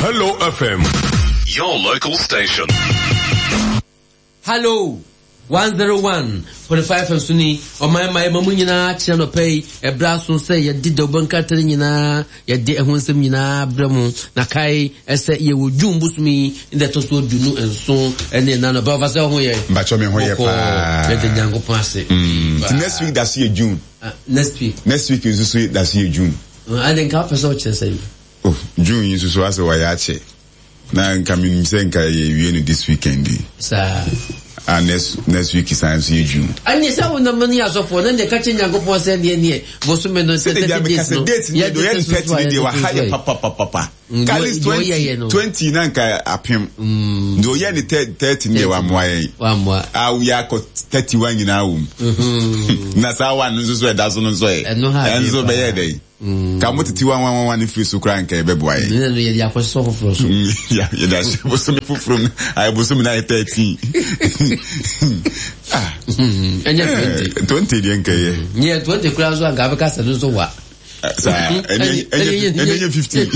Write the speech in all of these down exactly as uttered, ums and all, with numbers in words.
Hello F M, your local station. Hello one zero one point five so ni ɔman ma ɛma mu nyinaa kyerɛ nɔpɛ yi. Ɛberɛ aso sɛ yɛde dawubɔ nkrataa no nyinaa, yɛde ɛho nsɛm nyinaa brɛ mu. Na kae ɛsɛ yɛwɔ June bosom yi ne ɛtɔ so aduonu nson ɛne ɛna nɔpɛ ɔfa sɛ ɔho yɛ. Mbakyɛ, me ho yɛ paa. Yɛde Nyankopɔn ase. Nti next week da so yɛ June. Ah, next week. Next week nso so da so yɛ June. Ade nka wopɛ sɛ wokyerɛ sɛ yi? Oh, June yi nso so asɛ wɔyɛ akyɛ na nka menim sɛ nka yɛwie no this weekend yi. Saa. Ah, next next week san so yɛ June. Ɛne sɛ wonam ne asɔfoɔ na deɛ ka kyerɛ Nyankopɔn sɛ neɛ neɛ bosome no sɛ sɛde bia thirty meka days sɛ no date ne deɛ ɔyɛ ne thirty ne deɛ waha yɛ papapapapa. Mm, ka at least deɛ ɔyɛyɛ no. twenty twenty na nka apem deɛ ɔyɛ ne thirty ne deɛ wamoa yɛn. Wammoa. A woyɛ akɔ thirty one nyinaa wɔ mu na saa one no nso so ɛda so no nso yɛ Ɛno ha ɛno nso adeɛ paa. bɛyɛ dɛ ka mo tete one one one one firi so koraa nka ɛbɛboa yɛn. Ne no yɛde akɔsɔ foforɔ so. Ya, yɛde ahyɛ bosome foforɔ mu, ayɛ bosome no ayɛ thirteen. Ah. Ɛnyɛ twenty. Eh, twenty deɛ nka yɛ. Nyɛ twenty koraa nso anka bɛka sɛ no nso wa. Saa ɛnɛ ɛnyɛ ɛnɛ nyɛ fifteen.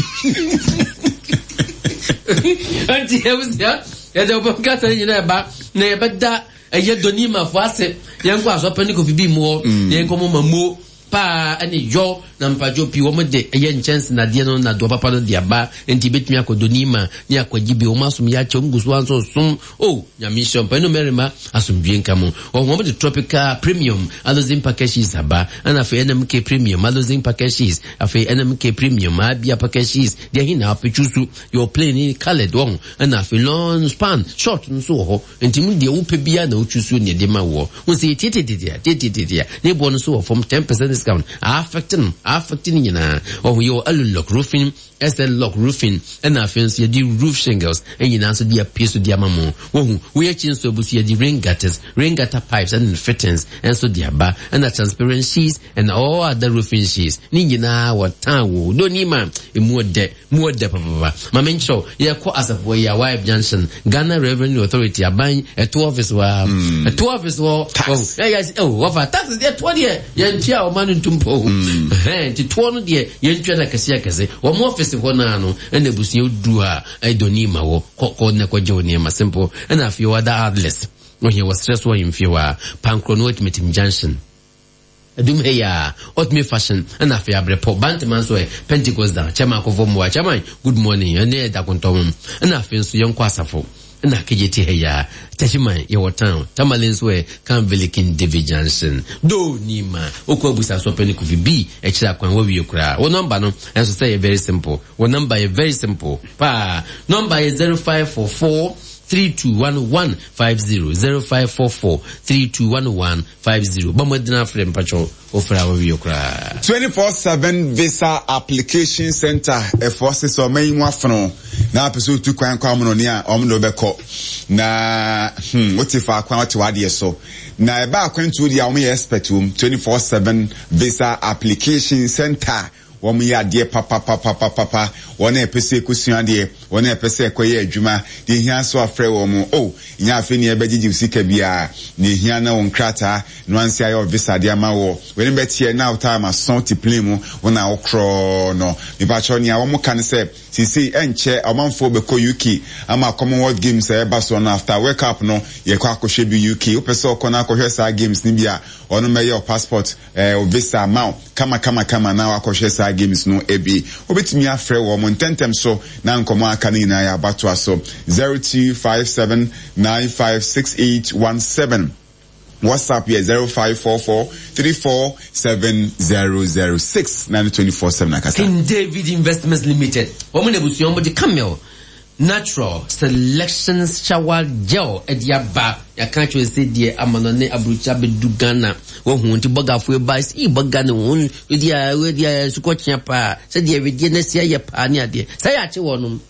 Nti abusua, yɛde ɔbɔ nkata no nyinaa ɛba na yɛbɛda ɛyɛ dɔnimafo ase. Yɛnkɔ asɔpɛ ne Kofi bi mu hɔ na yɛnkɔ mo ma mo paa ɛne yɔ na mpatwo pii. Wɔn de ɛyɛ nkyɛnse nadeɛ no nadoɔ papa no de aba, nti ebɛtumi akɔ dɔnima ne akɔgye bi. Wɔn asom yɛ akyɛ, wɔn gu so anso som o. Nyame nhyɛ mpɛ no mmarima asomdwie nka mu. Wɔn wɔn de Tropical Premium Aluzinc packages aba, ɛna afei N M K Premium Aluzinc packages, afei N M K Premium Abia packages deɛ ɛhe na apɛtwu so yɛ plain ne coloured wɔn, ɛna afei long span short nso wɔ hɔ. Nti mu deɛ wopɛ biara na wotwu so ne ɛde ma wɔ wɔn sɛ yɛtietietietia tietietietia ne boɔ no so wɔ fam, ten percent discount affect no affect no nyinaa. Ɔho yɛ wɔ Alulock Roofing, S L Lock Roofing, ɛna afei nso yɛde roof shingles ɛnyinaa nso de apue so de ama mo. Wɔhu woyɛ akyi nso abu so, yɛde rain gutters, rain gutter pipes ɛne fittings ɛnso de aba, ɛna transparent sheets and all other roofing sheets ne nyinaa wɔ tan wo donima emu ɔdɛ mu ɔdɛ papapa. Maame nkyerɛw, yɛkɔ asafo yi a Y F Junction, Ghana Revenue Authority aban ɛto office wɔ ha, ɛto office wɔ ɛyɛ ɛwɔ wɔfa tax ɛtoɔ deɛ yɛntua a ɔma no ntum po ɛhɛn, nti toɔ no deɛ yɛntua no akɛse akɛse. Wɔn office hɔ naa no ɛna abusua duru a ɛdɔni ma wɔ kɔ kɔ na kɔgye wo nneɛma simple. Ɛna afei wɔada atlas wɔhia wɔserɛ so ɔyɛmfie hɔ a Pankoro no Atimatim Junction adum ha yi a Ultimate Fashion, ɛna afei Abrɛpɔ Bantama nso ɛ Pentecost dan chairman akɔfɔ mmoa. Chairman, good morning. Ɛne ɛda kontɔm. Ɛna afei nso yɛnkɔ Asafo ɛna Kegye ha yi a Tachiman yɛwɔ town. Tamale nso ɛ Kanville King David Junction do nima okɔ abusa so pɛ ne Kofi bi ɛkyerɛ akwan wawie koraa. Wɔ number no ɛnso sɛ yɛ very simple. Wɔ number yɛ very simple paa. Number yɛ zero five four four three two one one five zero, zero five four four three two one one five zero. Bɔmmɔdena afrɛ mpatwɔ wofrɛ a wawie koraa. twenty-four seven Visa Application Center ɛfoɔ se sɛ ɔma yi mu afono na apɛ sɛ otu kwan kɔ amonɔne a, ɔmo de wobɛkɔ na hmm, wote faako a wote w'adeɛ so na ɛba akwantuo deɛ a, wɔn yɛ expert wɔ twenty-four seven Visa Application Center. Wɔn yɛ adeɛ papapapapapa. Wɔn a ɛpɛ sɛ ɛkɔsua adeɛ, wɔn a ɛpɛ sɛ ɛkɔyɛ adwuma deɛ, ehia so afrɛ wɔn o. Nyɛ afei nea ɛbɛgyegye sika biara na ehia na wɔn krataa na wansi ayɛ visa de ama wɔ wɔn bɛteɛ na time aso te plane mu wɔn a wɔkorɔ no. Mipakyɛw, nea wɔn ka no sɛ sisi ɛnkyɛ ɔmanfoɔ bɛkɔ U K ama Commonwealth Games a ɛba so no. After World Cup no, yɛkɔ akɔhwɛ bi U K. Wopɛ sɛ ɔkɔ na akɔhwɛ saa games no bi a, ɔno mɛyɛ o passport ɛɛ o visa ama wo kama kama kama na wakɔhwɛ saa games no ebi. Wobɛtumi afrɛ wɔn ntɛntɛm so na nkɔmɔ aka no nyinaa yɛ abatoa so zero two five seven nine five six eight one seven. WhatsApp yɛ zero five four four three four seven zero zero six nine twenty four seven akasa. King David Investments Limited, wɔn na abusua wɔn de Camel Natural Selection Shower Gel ɛde aba. Yɛaka kyerɛ sɛ deɛ ama no ne aburukyi abɛdu Ghana wɔhu nti bɔgafoɔ ba yi bɔga ne ho wedi a wedi a sukɔkyea paa sɛdeɛ wedeɛ no asi ayɛ paa ne adeɛ sɛ yɛakye wɔ nom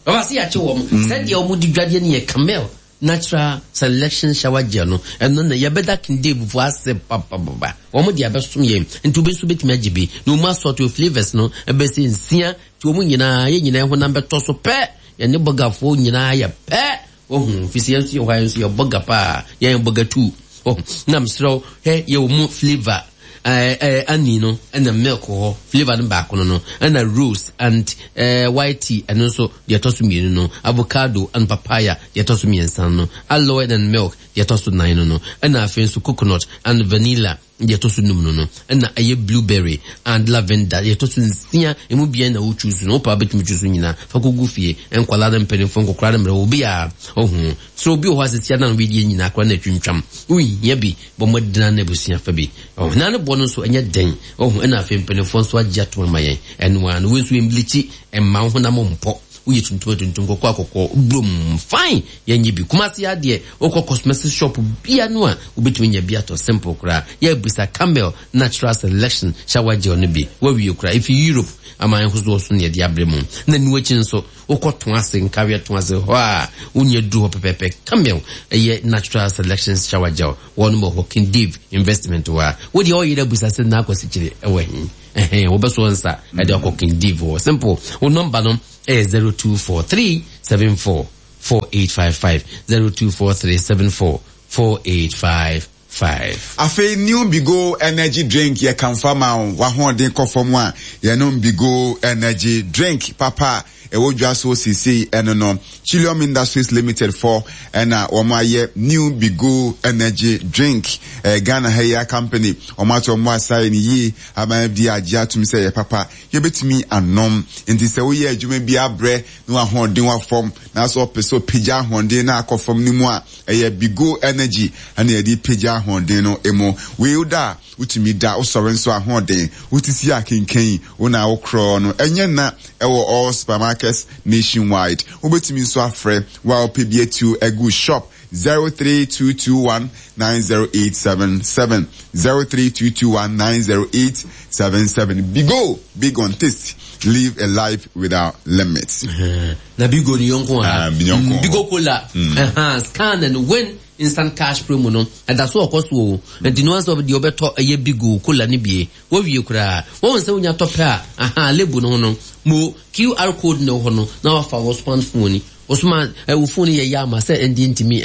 ɔba sɛ yɛakye wɔ mo sɛdeɛ wɔn de dwadeɛ no yɛ Camel Natural Selection Shower Gel no. Ɛno na yɛbɛda King David fo ase papapapa. Wɔn de abɛsom yɛn nti obi nso bɛtumi agye bi na wɔn asɔto flavours no ɛbɛsɛ nsia, nti wɔn nyinaa yɛn nyinaa honam bɛtɔ so pɛ. Yɛne bɔgafoɔ nyinaa yɛ pɛ wɔhu fisi yɛn nso yɛ hɔ a yɛn nso yɛ bɔga paa, yɛn bɔga tu wɔhu. Na mesrɛ hɛ, yɛwɔ mu flavour eh eh ani no ɛna milk hɔ flavor no baako no no ɛna rose and eh white tea ɛno nso deɛ ɛtɔ so mmienu no, avocado and papaya deɛ ɛtɔ so mmiɛnsa no, aloe and milk deɛ ɛtɔ so nan no no, ɛna afei nso coconut and vanilla deɛ ɛtɔ so num no no, ɛna ɛyɛ blueberry and lavender deɛ ɛtɔ so nsia. Emu bia na wo choose no, wopɛ a wobɛtumi choose nyinaa fa kɔgu fie. Nkwalaa no, mpanimfoɔ, nkɔkora no, mmerɛ obi a ɔhu sɛ obi wɔ hɔ asɛsia na no wedeɛ nyinaa koraa na atwintwam, wohia bi bɔ mmɔdena na abusua fa bi ɔho na ne bɔ no nso ɛnyɛ den ɔho. Ɛna afei mpanimfoɔ nso agye ato ama yɛn ɛno a no wei nso ɛmblikyi, ɛmma wo honam mpɔ, woyɛ tuntum tuntum, kɔkɔɔ akɔkɔɔ brom fine. Yɛnyɛ bi Kumase adeɛ, wokɔ cosmetic shop bia no a wobɛtumi nya bi atɔ, simple koraa. Yɛabisa Camel Natural Selection shower gel no bi wawie koraa, ɛfi Europe aman ahodoɔ so ne yɛde abrɛ mu. Na nu akyi nso wokɔ to ase nkareɛ to ase hɔ a wonya duru hɔ pɛpɛpɛ. Camel ɛyɛ Natural Selection shower gel, wɔn wɔ hɔ King Dave Investment hɔ a wodeɛ ɔyere abusa sɛ na akɔsi kyerɛ ɛwɔ he ɛhɛn wobɛso nsa ɛde akɔ King Dave hɔ, simple. Wo number no ɛyɛ zero two four three seven four four eight five five, zero two four three seven four four eight five five. Afei new Bigo Energy Drink yɛ kamfa ma wo wahoɔden kɔ fam a, yɛnom Bigo Energy Drink papa a ɛwɔ dwa so seesei. Ɛno no Chilium Industries Limited fɔ ɛna wɔn ayɛ new Bigo Energy Drink. ɛɛ Ghana ha yi a company wɔn ato wɔn asa ne yie ama F D A agye atum sɛ yɛ papa, yɛbɛtumi anom. Nti sɛ woyɛ adwuma bi abrɛ na wahoɔden wa fam na sɛ ɔpɛ sɛ ɔpagya ahoɔden na akɔ fam no mu a, ɛyɛ Bigo Energy ɛna yɛde pagya ahoɔden no mu. Wei da a wotumi da, wosɔre nso ahoɔden wotisi akenkan wo na wokorɔ no ɛnyɛ na ɛwɔ all supermarkets nationwide. Wobɛtumi nso afrɛ wo a wopɛ bi atu agu shop, zero three two two one nine zero eight seven seven, zero three two two one nine zero eight seven seven. Bigo, big on taste, live a life without limits. Na Bigo ni yɔnko ha. Ah, bi yɔnko. Mm, Bigo Cola mm. Scan and win instant cash promo no ɛda so ɔkɔ so o. Nti no asɛ deɛ ɔbɛtɔ ɛyɛ Bigo Cola no bie wɔwie koraa wɔn sɛ wonya tɔ pɛ a, aha label no ho no mo Q R code na ɛwɔ hɔ no na wafa wɔ smartphone ni osuma ɛwɔ phone yɛ yɛ ama sɛ ɛndi ntumi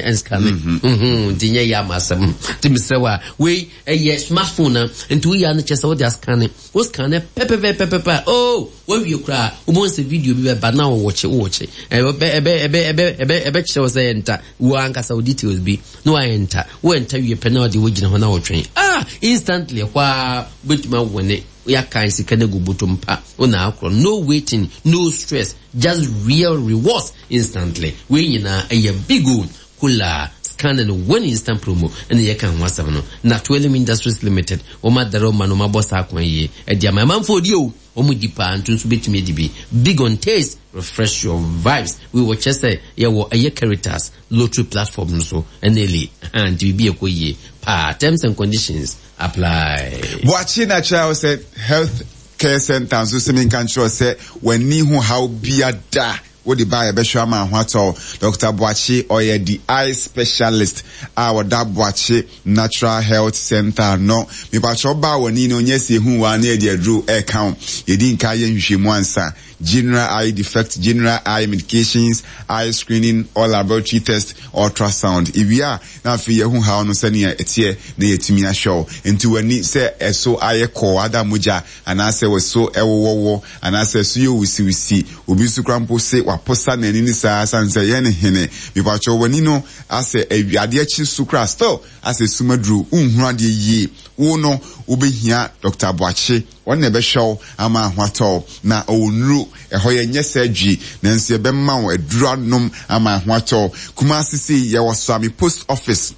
ɛnscan nti nyɛ yɛ ama asɛm. Nti mesrɛ wa, wei ɛyɛ smartphone na nti woyɛ ano kyɛ sɛ wode ascan, wo scan pɛpɛpɛpɛpɛ a, oh, wawie koraa, wobɛhu sɛ video bi bɛba na wɔwɔkye wowɔkye ɛbɛ ɛbɛ ɛbɛ ɛbɛ ɛbɛ ɛbɛkyerɛ wo sɛ ɛnta wo ankasa wo details bi na wayɛ nta wo ɛnta wie pɛ na ɔde wogyina hɔ na wɔtwɛn ah instantly hɔ a wobɛtumi awɔne yɛaka sika no agu bɔtɔ mpa wo na akorɔ. No waiting, no stress, just real rewards instantly. Wei nyinaa ɛyɛ Bigo Cola scan and win instant promo ɛna yɛka ho asɛm no. Na Twelve Industries Limited wɔn adara ɔma no wɔn abɔ saa kwan yie ɛde ama amanfoɔ di o, wɔn di paa nto nso bɛtumi adi bi. Big on taste, refresh your vibes. Wei wɔkyɛ sɛ yɛwɔ ɛyɛ Caritas lottery platform no so ɛna ɛli nti biribi ɛkɔ yie paa. Terms and conditions apply. Boakye Natural sɛ Health Care Center nso sɛ menka nkyerɛ sɛ w'ani ho haw bia da wode ba, yɛbɛhwɛ ama ho atɔ. Doctor Boakye ɔyɛ the eye specialist a wɔda Boakye Natural Health Center no. Mepakyɛ ɔbaa w'ani no nyɛ sɛ ehu wa ne yɛde aduro ɛɛka wo, yɛdi nka yɛ nhwehwɛmu ansa. General eye defect, general eye medications, eye screening, all laboratory test, ultrasound. Ewie a na afei yɛhu haw no sɛnea ɛteɛ na yɛtumi ahwɛ wo. Nti w'ani sɛ ɛso ayɛ kɔɔ ada mogya anaasɛ wɔso ɛwowɔwɔ anaasɛ ɛso yɛ wusiwusi, obi nso kora mpo se waposa n'ani ne saa san sɛ yɛn ne hene. Mepakyɛ w'ani no asɛ adeɛ kye so kora still asɛ sumaduro nhunu adeɛ yie, wo no wobɛhia Doctor Boakye, wɔn na ɛbɛhwɛ wo ama ho atɔ. Na ɔwɔ nnuro ɛhɔ, yɛ nyɛ surgery nanso yɛbɛma wo aduro anom ama ho atɔ. Kumasi sei yɛwɔ Suame Post Office,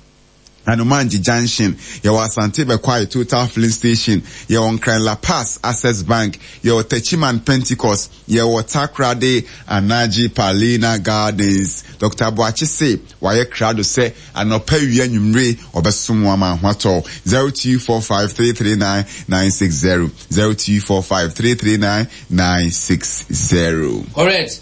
Anomanji Junction. Yɛwɔ Asante Bɛkwae Total Filling Station, yɛwɔ Nkran La Pass Access Bank, yɛwɔ Techiman Pentecost, yɛwɔ Takoradi Anaji Palina Gardens. Doctor Boakye se wayɛ krado sɛ anɔpa, wia, nwummere ɔbɛsom wɔn ama ho atɔ. zero two four five three three nine nine six zero, zero two four five three three nine nine six zero. Correct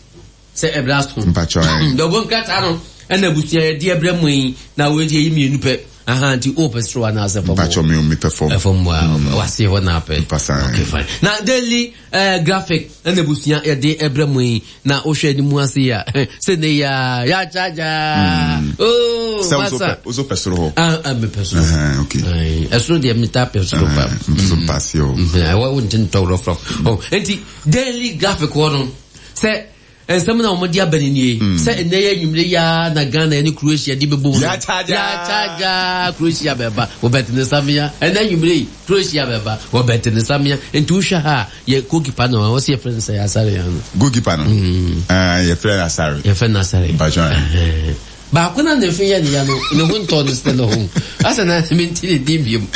sɛ ɛbrɛ so. Mpatsɔ. Dɔbɔ nkrataa no ɛna abusua yɛde ɛbrɛ mu yi na wɔadi ayi mmienu pɛ. Aha, nti wopɛ soro anaasɛ fam? Mpakyɛ me mepɛ fam. Fam a wase hɔ na apɛ. Mpasa. Okay, fine. Na Daily eh, Graphic ɛna abusua yɛde ɛbrɛ mu yi, na wohwɛ anim ase yi a, sɛ ne yɛ a yɛakyagya. Oh, Sɛ wo so masa. pɛ wo so pɛ soro hɔ. Ah, ah, mepɛ soro. Ɛhɛn, okay. Aye, ɛsoro deɛ metaa pɛ soro pa. Ɛhɛn, nso mpa aseɛ o. Mhm, ɛwɔ wo nte ntɔ rɔfrɔf. Oh, nti Daily Graphic hɔ no, sɛ nsɛm na wɔde aba ne nie, sɛ nnɛ yɛ anwummere yi ara na Ghana ne Croatia de bɛbɔ mu no. Yɛakyagya. Yɛakyagya, Croatia bɛba, wɔbɛte ne samea. Ɛnnɛ anwummere yi, Croatia bɛba, wɔbɛte ne samea. Nti wohwɛ ha a, yɛ goalkeeper no, wɔsi yɛfrɛ no sɛ Asare ano. Goalkeeper no? Ah, yɛfrɛ no Asare. Yɛfrɛ no Asare. Mpakyɛ. Ɛhɛn. Baako na ne fi yɛ ne ya no, ne ho ntɔ no sɛ ne ho. Asa na mente ne din biom.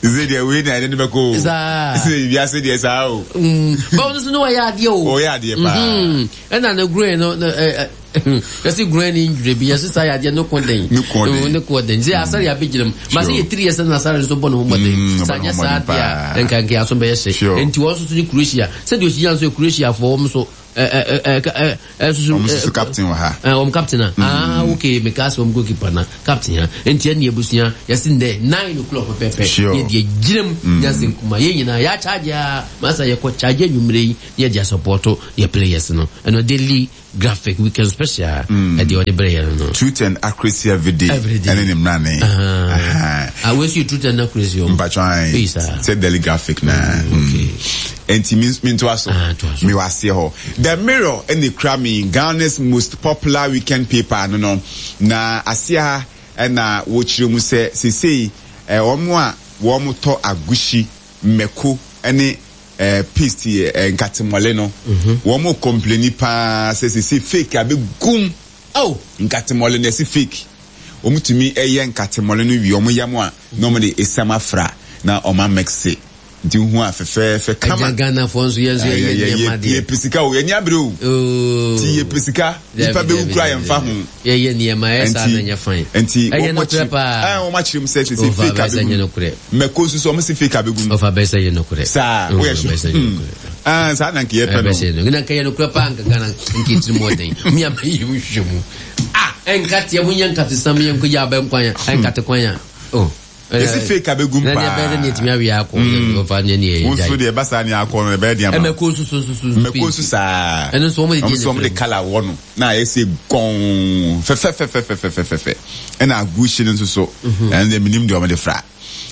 Sɛ deɛ wei na ɛde ne bɛkɔ o. Saa. Sɛ wiase deɛ saa o. Mm. Báwo no so ne wɔyɛ adeɛ o. Ɔyɛ adeɛ paa. Mhm. Ɛna ne groin no, no, ɛ, ɛ, yɛsi groin ne injury bi, yɛsi saa yɛ adeɛ ne ko den. Ne ko den. Ne ko den. Sɛ Asare abɛgyina mu. Ma sɛ yɛ tiri yɛ sɛ na Asare nso bɔ ne ho mmɔden. Mm, Sɛ ɔbɔ ne anyɛ ho saa mmɔden deɛ a, paa. nka nka aso bɛyɛ hye. Sure. Nti wɔn nso so ne Croatia. Sɛdeɛ ohyia nso yɛ Croatia foɔ wɔn nso. Ɛ, ɛ, ɛ, ɛ, ɛ, soso, Wɔn nso so captain wɔ ha. Ɛ, wɔn captain a. Ah, okay, meka sɛ wɔn goalkeeper na captain ha. Nti ɛne abusua, yɛsi ndɛ nine o'clock pɛpɛpɛ. Sure. Yɛ deɛ gyina mu, nyansa nkuma. Yɛn nyinaa, yɛ akyagye a, masa yɛkɔ kyagye anwummerɛ yi, na yɛde asupporto yɛ players no. Ɛno Daily Graphic Weekend Special, ɛdeɛ ɔde brɛ yɛn no. Truth and accuracy every day. Every day. Ɛne ne mmrane. Ah, ah, wei nso yɛ truth and accuracy o. Mpatwa ayi. Eyi saa. Sɛ Daily Graphic na. Okay. Nti mi mi ntoa so. Ah, toa so. Mi wɔ aseɛ hɔ. The Mirror ɛna ekura mi, Ghana's most popular weekend paper no no. Na aseɛ ha ɛna wɔkyerɛ mu sɛ sesei ɛ wɔn a wɔn tɔ agushi, mako ɛne ɛ paste ɛ nkatemɔle no. Wɔn complaini paa sɛ sesei fake abɛgum. Oh. Nkatemɔle no yɛsi fake. Wɔn tumi ɛyɛ nkatemɔle no wie, wɔn yam a na wɔn de esiam afra na wɔn amix. Nti hu a fɛfɛɛfɛ kama. Ɛgya Ghanafoɔ nso yɛn nso yɛyɛ nneɛma deɛ. Yɛ pɛ sika o, yɛn ni abere o. Oh. Ti yɛ pɛ sika, nipa bɛ wu kura yɛn fa ho. Yɛyɛ nneɛma, ɛyɛ saa na nyɛ fine. Nti ɛyɛ nokorɛ paa. Ɛɛ wɔn akyerɛ mu sɛ sɛ Ɔfa fake bɛsɛ nyɛ abegu. nokorɛ. Mɛko nso so wɔn si fake abegu. Ɔfa bɛsɛ nyɛ nokorɛ. Saa, Mm, woyɛ bɛsɛ sure. nyɛ nokorɛ. Ah, saa na nka yɛ pɛ no. Bɛsɛ nyɛ nokorɛ. Na nka yɛ nokorɛ paa nka Ghana nka etiri mu ɔden. Mi a bɛyɛ mu hwehwɛ mu. Ah, ɛnkateɛ mu nyɛ nkate sam yɛ nkɔ yɛ abɛn kwan a, ɛnkate kwan a. Oh. Yɛsi fake abegu Na paa. deɛ bɛyɛ ne yɛtumi awie akɔ. Ɔfa ne ne yɛ Wo nso deɛ ɛba saa ne akɔ no ɛbɛyɛ deɛ ama. Ɛmɛko nso so nso so. Mɛko nso saa. Ɛno nso wɔn de Wɔn nso wɔn de colour wɔ no na ayɛ sɛ gɔn fɛfɛfɛfɛfɛfɛfɛ. Ɛna agushi no nso so ɛno deɛ minim deɛ wɔn de fra.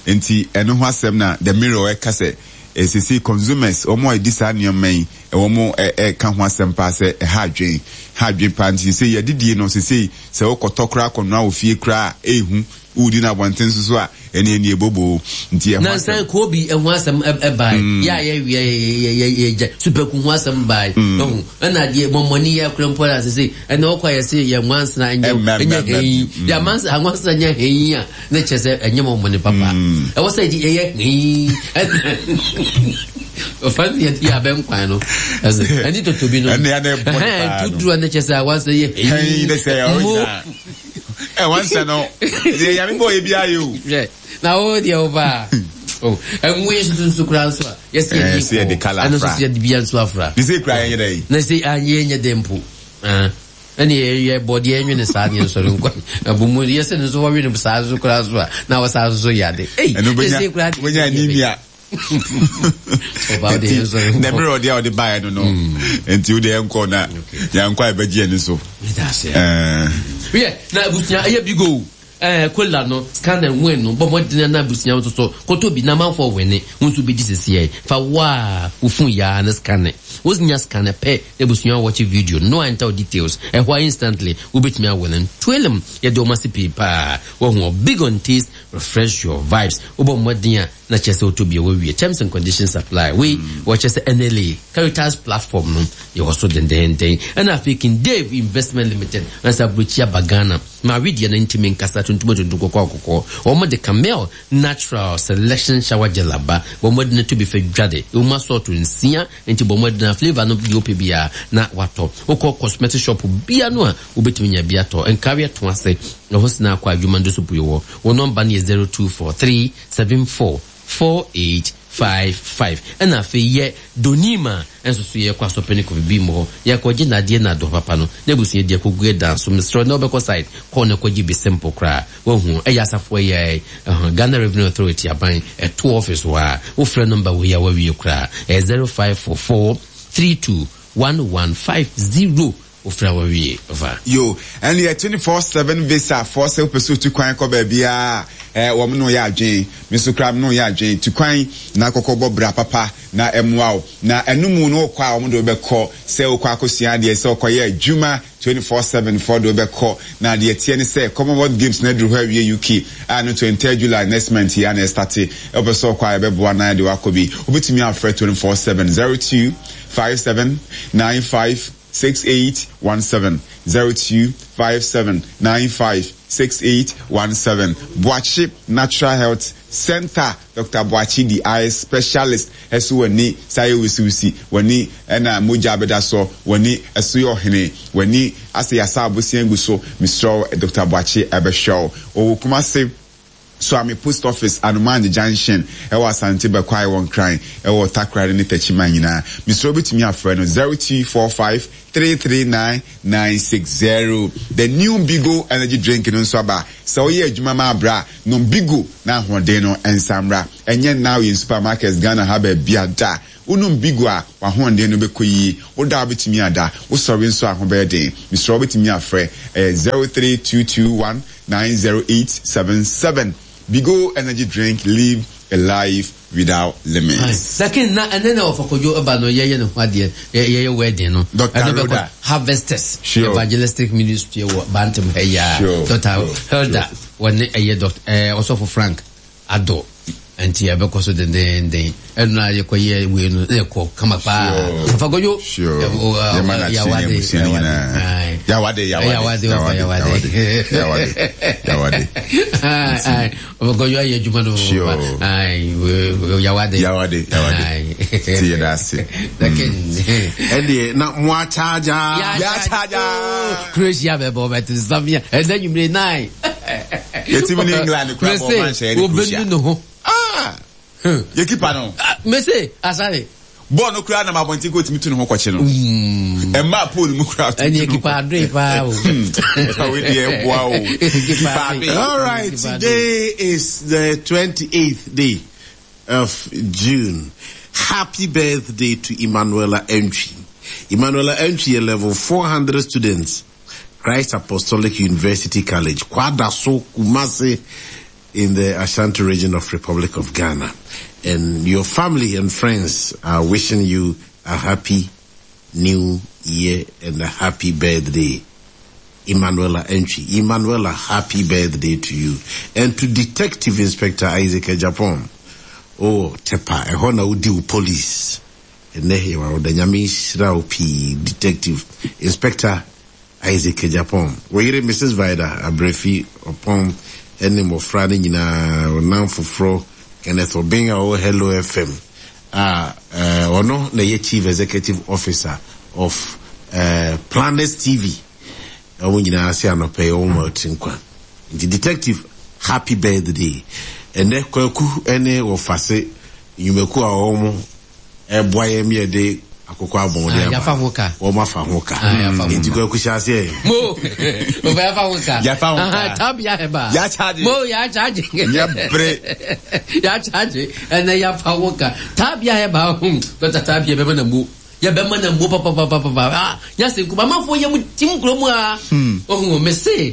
Nti ɛno ho asɛm na The Mirror ɛka sɛ esisi consumers wɔn a ɛdi saa nneɛma yi wɔn ɛka ho asɛm paa sɛ ɛha adwen ha adwen paa. Nti sɛ yɛdidie no sisi sɛ wokɔtɔ koraa kɔnoa wɔ fie koraa ehu wodi na abɔnten nso so a ɛne ɛne ebobo nti ɛho Nansan asɛm. Kobi ɛho asɛm ɛbae. Yɛ a yɛwia yɛ yɛ yɛ gya supaku ho asɛm bae. Ɛho ɛna deɛ mɔmɔni yɛ akora mpo la sese ɛna ɔkɔ yɛ se yɛ nwansena ɛnyɛ Ɛmmɛ, ɛnyɛ mmɛ, mmɛ. hɛn. Deɛ amansa anwansena nyɛ hɛn a ne kyɛ sɛ ɛnyɛ mɔmɔni papa. Ɛwɔ sɛ ɛdi ɛyɛ hɛn. Ɔfa ne yɛ yɛ abɛn kwan no. Ɛsɛ ɛne toto bi no. Ɛne yɛ na ɛbɔ ne paa no. Tuduru ne kyɛ sɛ awansena yɛ hɛn. Hɛn ne sɛ Mo. ɔgyina. Ɛ wansa no deɛ Nyame bɔ yɛ biara yɛ o. Hwɛ na wo deɛ wo ba. Oh, ɛnwo yi nso nso kura nso a yɛsi Ɛɛ, yɛ sɛ yɛde colour ɛno nso afra. sɛ yɛde bia nso afra. Ne sɛ kura yɛn yɛ dɛ yi. Na sɛ anyɛ nyɛ dɛ mpo. Ah, ɛne yɛ yɛ bɔ deɛ ɛnwene saa ne nsɔre nkɔ. Ɛbɔ mu yɛsɛ ne nso wɔwe ne saa nso kura nso a na wɔ saa nso so yɛ ade. Ei, Ɛno sɛ sɛ kura bɛnya bɛnya anemia. Ɔba de yɛn nsɔre Nti nkɔ. na mmerɛ ɔde a ɔde baeɛ no no nti wode yɛnkɔ na yɛnkɔ a yɛbɛgye yɛn so. Meda ase. Ɛɛ, Yɛ na abusua ɛyɛ big o. Ɛɛ kola no scan and win no bɔ mmɔden na abusua nso so koto bi na amanfoɔ wene wo nso bɛgye sisi yɛ fa waa wo phone yaa ne scan wonya scan pɛ na abusua watch video no enter details ɛhɔ a instantly wobɛtumi awene twelem yɛde wɔn ase pii paa wɔho big on taste, refresh your vibes. Wobɔ mmɔden a na kyerɛ sɛ wotɔ bi a wɔawie. Terms and conditions apply. Wei wɔkyerɛ sɛ N L A Caritas platform no yɛwɔ so dendenden. Ɛna afei King Dave Investment Limited ansa aburokyi aba Ghana ma awedeɛ no ntumi nkasa tuntum tuntum kɔkɔɔ kɔkɔɔ. Wɔn de Camel Natural Selection Shower Gel aba. Wɔn de no to bi fɛ dwade wɔn asɔɔto nsia nti bɔ wɔn de na flavour no deɛ wopɛ biara na watɔ. Wokɔ cosmetic shop bia no a wobɛtumi nya bi atɔ. Nkareɛ to ase ɛhɔ sena akɔ adwuma ndo so pue wɔ wɔn nɔmba no yɛ zero two four three seven four four eight five five. Ɛna afei yɛ Donima nso so yɛkɔ asɔpɛ ne kɔfi bi mu hɔ, yɛkɔgye nadeɛ na adɔ papa no na abusua deɛ kɔgu ɛdan so. Mesrɛ na wobɛkɔ site kɔɔ na kɔgye bi simple koraa. Wahu ɛyɛ asafoɔ yɛ ɛhɔ Ghana Revenue Authority aban ɛto office hɔ a, wofrɛ number wei a, wawie koraa. Ɛyɛ zero five four four three two one one five zero. Wofrɛ a, wawie ɔfa. Yo, ɛne yɛ twenty-four seven visa foɔ sɛ wopɛ sɛ otu kwan kɔ baabiaa, eh, wɔm no yɛ adwen. Me nso koraa no yɛ adwen tu kwan na kɔkɔ bɔ bra papa na ɛmmoa wo na ɛno mu no, wokɔ a, wɔn de wobɛkɔ sɛ wokɔ akɔsua adeɛ, sɛ wokɔyɛ adwuma, twenty-four seven foɔ de wobɛkɔ. Na deɛ teɛ ne sɛ Commonwealth Games na aduru hɔ awie U K a no twenty-third July next month yi a na ɛstart. Wopɛ sɛ wokɔ a, yɛbɛboa na yɛde wakɔ bi. Wobɛtumi afrɛ twenty-four seven zero two five seven nine five six eight one seven, zero two five seven nine five six eight one seven. Boakye Natural Health Center, Doctor Boakye di eye specialist. Ɛso w'ani saa yɛ wusiwusi w'ani, ɛna mogya abɛda so w'ani, ɛso yɛ ɔhene w'ani asɛ yasa abosia gu so. Mesrɛ, Doctor Boakye ɛbɛhwɛ wo. Ɔwɔ Kumase, Suame Post Office, Anomanje Junction, ɛwɔ Asante Bɛkwae, wɔ Nkran, ɛwɔ Takoradi ne Tɛkyima nyinaa. Mesrɛ, wobɛtumi afrɛ no zero two four five three three nine nine six zero. The new Bigo energy drink no nso aba. Sɛ woyɛ adwuma ma abra, nom Bigo na ahoɔden no nsamra. Ɛnyɛ now yɛn supermarkets Ghana ha baabi ada. Wonom Bigo a, w'ahoɔden no bɛkɔ yie. Woda a, wobɛtumi ada, wosɔre nso a, ho bɛyɛ den. Mesrɛ, wobɛtumi afrɛ ɛyɛ zero three two two one nine zero eight seven seven. Bigo energy drink, live a life without limits. Lakin na ɛnɛ na wɔfa Kwadwo ɛba no, yɛyɛ ne ho adeɛ, yɛyɛ wedding no. Doctor Ɛno bɛkɔ Rhoda. Harvesters Sure. Evangelistic Ministry wɔ Bantam ha yi a, Sure, Doctor sure, Hilda wɔne ɛyɛ Doctor ɛɛ Ɔsɔfo Frank Adɔ, nti yɛbɛkɔ so dendenden. Ɛno na yɛkɔyɛ wei no na yɛkɔ kama paa. Sure. Ɔfa Kwadwo. Sure. ɛ, o, ɛ, Yɛma no akyere ne yawade, abusua no yawade. nyinaa. Aye. Yawade, yawade, Yawade, ɔfa yawade, yawade. Yawade, yawade. Aye, aye. Ɔfa Kwadwo ayɛ adwuma no. Sure. Aye, we- yawade. Yawade, yawade. Aye. Ti yɛda ase. Lakin ɛdeɛ na mo akyagya. Yɛakyagya. Croatia bɛbɔ bɛte nsamia ɛnɛ nwumire nine. Yɛtumi ne England koraa bɔ ɔman hyɛ yɛne Croatia. Wobɛnu ne ho. Ah! Yɛ keeper no. Ah, mese asare. Bɔɔl no koraa nam abɔnten kɔ, otumi tu ne ho kɔkye no. Ɛmmaa pole mu koraa. Ɛne keeper adoe paa o. Awo deɛ ɛboa o. Keeper adoe. All right, today is the twenty-eighth day of June. Happy birthday to Emanuela Entry. Emanuela Entry, a level four hundred students, Christ Apostolic University College, Kwadaso, Kumasi, in the Ashanti Region of Republic of Ghana. And your family and friends are wishing you a happy new year and a happy birthday. Emanuela Entry. Emanuela, happy birthday to you. And to Detective Inspector Isaac Japon. Oh, Tepa, ɛhɔ na wodi wo police. Ɛnɛ yɛwɔ ɔda Nyame nhyira wo pii, Detective Inspector Isaac Japon. Wɔyere Missus Vida Abrefi Ɔpɔn ɛne mmɔfra no nyinaa, ɔnam foforɔ Kenneth Obeng a ɔwɔ Hello F M a eh, ɔno na ɛyɛ Chief Executive Officer of uh, Planet T V. Wɔn nyinaa ase anɔpɛ yi wɔn ma ɔte nkwa. Nti Detective, happy birthday. Ɛnɛ Kwaku ɛne Wɔfase nnwumakuo a wɔn ɛboa yɛn mi yɛde akokɔ abɔn de Ah, aba. Yɛafa ho ka. Wɔn afa ho ka. Ah, yɛafa ho Nti ka. Kwaku, hyɛ aseɛ. Mo ɔfa yɛafa ho ka. Yɛafa ho ka. Aha, tabia heba. Yɛakyagye. Mo yɛakyagye. Yɛbere. Yɛakyagye ɛnɛ yɛafa ho ka. Tabia heba ho dɔkta tabia bɛma na mo yɛbɛma na mo papapapapa. Ah, nyase nkuma amanfoɔ yɛ mu tim kurom a ɔhu me se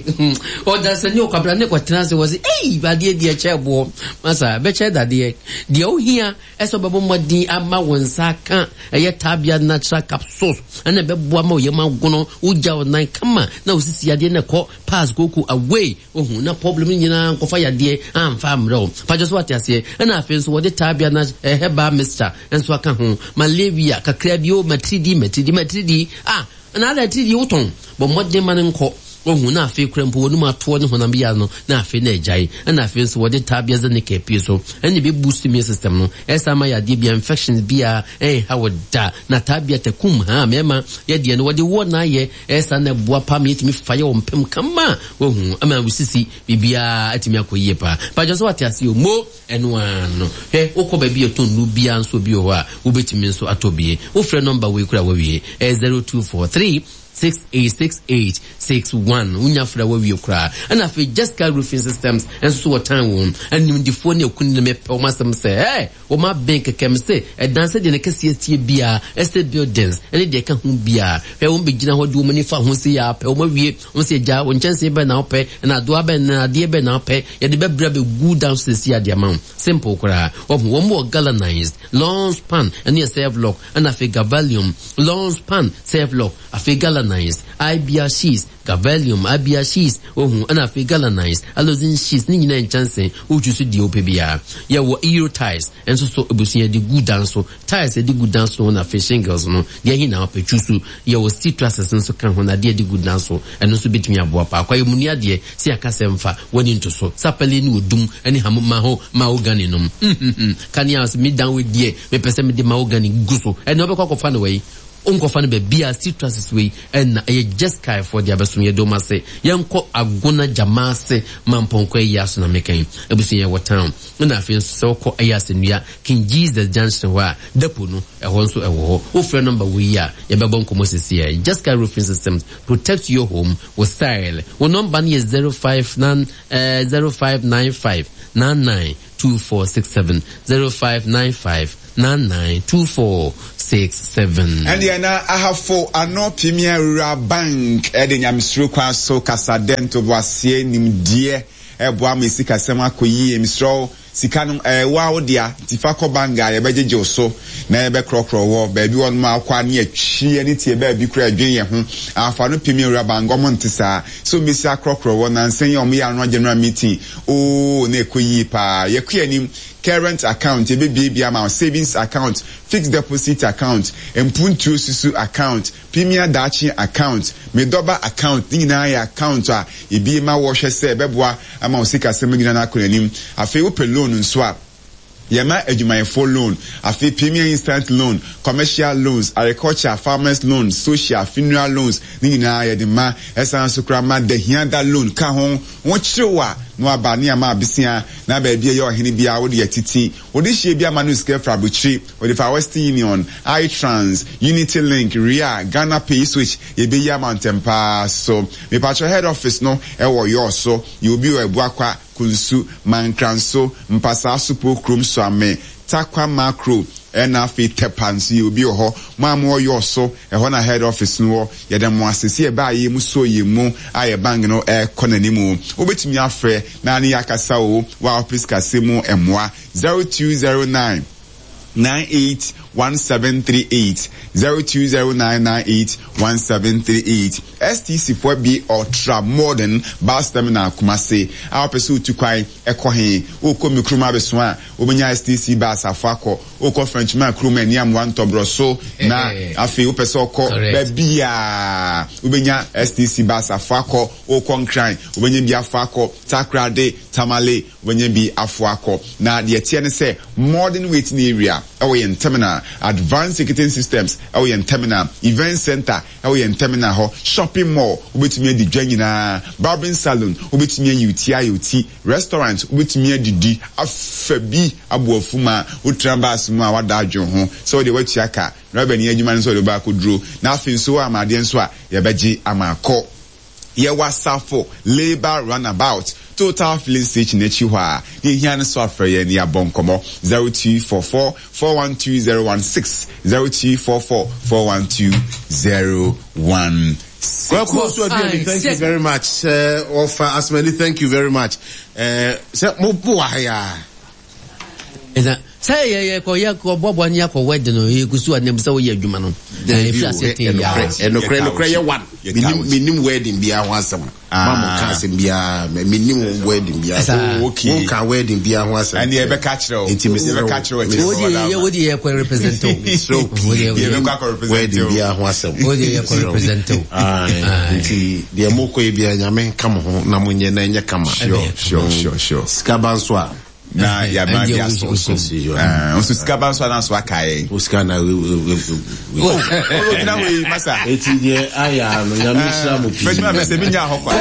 ɔdasani ɔkwabra ne kɔtena ase wɔ se ei, adeɛ deɛ kyɛ boɔ masa bɛkyɛ dadeɛ deɛ wohia ɛsɛ ɔbɛbɔ mmɔden ama wo nsa ka ɛyɛ Tabia Natural Capsules, ɛna ɛbɛboa ma oyam agono, wogya wo nan kama na wosisi adeɛ na ɛkɔ pass koko away. Ohu na problem nyinaa nkɔfa yadeɛ amfa mmerɛ wo pakyɛ so, wate aseɛ? Ɛna afei nso wɔde Tabia na herbal mixture nso aka ho. Malaria kakra bi o, matiridi matiridi matiridi, ah, na ada tiridi wotɔn, bɔ mmɔden ma no nkɔ. Wahu na afei kura mpo wɔnum atoɔ ne honam yia no na afei na agyae. Ɛna afei nso wɔde tabia zenica pie so ɛne bɛ boost immune system no. Ɛsa ma yadeɛ bia infections bia ɛnha wɔ da na tabia takum ha mɛma yɛdeɛ no wɔde wɔ na ayɛ ɛsa na ɛboa pa ma yɛtumi fa yɛ wɔ mpem kama. Wahu ama wosisi biribiara atumi akɔ yie paa. Pàjọ sɛ wate ase o mo ɛno ano hwɛ wokɔ baabi yɛtɔn nu bia nso bi wɔ hɔ a wobɛtumi nso atɔ bie. Wofrɛ number wei kura wawie ɛyɛ zero two four three six eight six eight six one. Wonya frɛ wawie koraa. Ɛna afei Jessica Roofing Systems nso so wɔ tan wɔn animdifoɔ ne akuni ne mepɛ wɔn asɛm sɛ ɛɛ wɔn abɛn kɛkɛ m sɛ ɛdan sɛ deɛ ne kɛseɛ tie bia estate buildings ɛne deɛ ɛka ho bia hwɛ wɔn bɛgyina hɔ de wɔn ani fa ho si yɛ apɛ wɔn awie wɔn sɛ gya wɔn nkyɛnsee bɛn na wɔpɛ ɛna adoa bɛn na adeɛ bɛn na wɔpɛ yɛde bɛbrɛ bɛgu down sisi adeɛ ama wɔn simple koraa. Wɔn wɔn wɔ galvanized long span ɛne yɛ self lock ɛna afei galvalium long span self lock afei galvanized ibr sheets galvalium ibr sheets ohun ɛna afei galvanized aluzinc sheets ne nyinaa nkyɛnsee wotwi so deɛ wopɛ biara. Yɛwɔ euro tiles ɛnso so ebusua de gu dan so tiles yɛde gu dan so na afei shingles no deɛ ɛhe na wopɛ twi so. Yɛwɔ steel trusses nso ka ho na adeɛ de gu dan so ɛno nso bɛtumi aboa paa. Kwa yɛ mu ni adeɛ sɛ yɛaka sɛ mfa wɔne nto so sapɛle ne odum ɛne ham ma ho mahogany nom kanea sɛ me dan wei deɛ mepɛ sɛ mede mahogany gu so ɛne wobɛkɔ akɔfa no wei wonkɔfa no baabi a steel trusses wei ɛna ɛyɛ Jeskai foɔ de abɛsom yɛ dɔm ase. Yɛnkɔ Agona Gyama ase ma mpɔnkɔ ayi aso na meka abusua yɛwɔ town. Ɛna afei nso sɛ wokɔ ɛyɛ asɛnnua King Jesus Junction hɔ a depo no ɛhɔ nso ɛwɔ hɔ. Wofrɛ number wei a yɛbɛbɔ nkɔmmɔ sisi ɛ. Jeskai Roofing Systems, protect your home with style. Wo number no yɛ zero five nine eh, zero five nine five nine nine two four six seven zero five nine five nine nine two four six seven. Ɛndeɛ na Ahafo Ano Premier Rural Bank ɛde nyamesuro kwan so kasadɛ ntoboaseɛ nimdeɛ ɛboa ma sikasɛm akɔ yie. Mesrɛ sika no ɛwɔ a wo dea nti fa kɔ bank a yɛbɛgyegye wo so na yɛbɛkorɔkorɔ wɔ baabi wɔ nom akɔ ne atwi ne tie baabi kora adwene yɛ ho. Ahafo Ano Premier Rural Bank ɔmo nte saa so mbɛsi akorɔkorɔ wɔ nansa yi a ɔmo yɛ ano general meeting oo na ɛkɔ yie paa. Yɛkɔ anim current account yɛbɛbiebie ama wo savings account, fixed deposit account, mpuntuo susu account, premier daakye account, medɔba account ne nyinaa yɛ account a ebie ma wɔhwɛ sɛ ɛbɛboa ama wo sikasɛm nyinaa no akɔ n'anim. Afei wopɛ loan nso a yɛma adwumayɛfoɔ loan, afei premier instant loan, commercial loans, agriculture, farmers loan, social, funeral loans ne nyinaa yɛde ma. Ɛsan so koraa ma dahiada loan ka ho. Wɔkyerɛw a na waba ne ama abesia na baabi a ɛyɛ ɔhene biara wode atiti wode hyia bi ama no sika fra abukyiri wode fa Western Union, iTrans, Unity Link, Ria, Ghana Pay Switch yɛbɛyi ama ntɛm paa so. Mepatwɛ head office no ɛwɔ yɔɔ so yɛ obi wɔ Abuakwa, Kunsu, Mankranso, Mpasaa Supo kurom Suame, Takwa Makro ɛna afei Tepa nso yɛ obi wɔ hɔ. Mo a mowɔ yɔɔ so ɛhɔ na head office no wɔ. Yɛda mo ase sɛ yɛbaa yɛ mu so yɛ mu a yɛ bank no ɛkɔ n'anim. Wobɛtumi afrɛ na ne yɛakasa o wɔ a office kase mu mmoa zero two zero nine nine eight one seven three eight zero two zero nine nine eight one seven three eight. S T C four B Ultra Modern Bus Terminal Kumasi. A wopɛ sɛ wotu kwan ɛkɔ he wokɔ mi kurom abɛso a wobɛnya S T C bus afo akɔ wokɔ Frenchman kurom ani amoa ntɔborɔ so na afei wopɛ sɛ ɔkɔ baabi a wobɛnya S T C bus afo akɔ wokɔ Nkran wobɛnya bi afo akɔ Takoradi, Tamale wobɛnya bi afo akɔ. Na deɛ teɛ ne sɛ modern waiting area ɛwɔ yɛn terminal, advanced ticketing systems ɛwɔ yɛn terminal, event center ɛwɔ yɛn terminal hɔ, shopping mall wobɛtumi adi dwa nyinaa, barbering salon wobɛtumi ayi wo ti ayɛ wo ti, restaurant wobɛtumi adidi afa bi aboafu ma wotena bus mu a wada adwene ho sɛ wode watua ka na wabɛni adwuma no sɛ wode wobɛakɔduro na afei nso wɔ amadeɛ nso a yɛbɛgye ama akɔ. Yɛwɔ Asafo Labour Runabout Total filling station akyi hɔ a ne ehia no so afrɛ yɛn ne yɛabɔ nkɔmmɔ zero two four four four one two zero one six zero two four four four one two zero one six. Well, thank you very much. Uh, Ofa Asmani, thank you very much. Uh, sɛ mo bo wa ha ya. Ɛna Sɛ yɛ yɛ kɔ yɛ kɔ bɔbɔ ne akɔ wedding no, yɛ kusu anam sɛ woyɛ adwuma no. Ɛfi ase te ya. Ɛnokorɛ, ɛnokorɛ yɛ one. Menim menim wedding biara ho asɛm. Ma mo ka asɛm biara, menim wedding biara. Oh, okay. Wo ka wedding biara ho asɛm. Ɛne yɛbɛka kyerɛ wo. Nti mesrɛ wo. Yɛbɛka kyerɛ wo akyerɛ Wo de yɛ wo de yɛ kɔ represent o. Mesrɛ wo pii. Yɛbɛkɔ akɔ represent Wedding o. biara ho asɛm. Wo de yɛ kɔ represent o. Aye. Nti deɛ mokɔ yi biara, Nyame nka mo ho na monyɛ na ɛnyɛ kama. Sure, sure, sure, sure. Sika ba nso a, Na yɛama de aso so. Nso sika ba nso ananso aka yɛn. Wo sika na we we we we. Ɔgyina hɔ yi masa. Eti deɛ ayɛ ano, Nyame nhyira mo pii. Fɛdwuma bɛ sɛ mi nya hɔ kwa.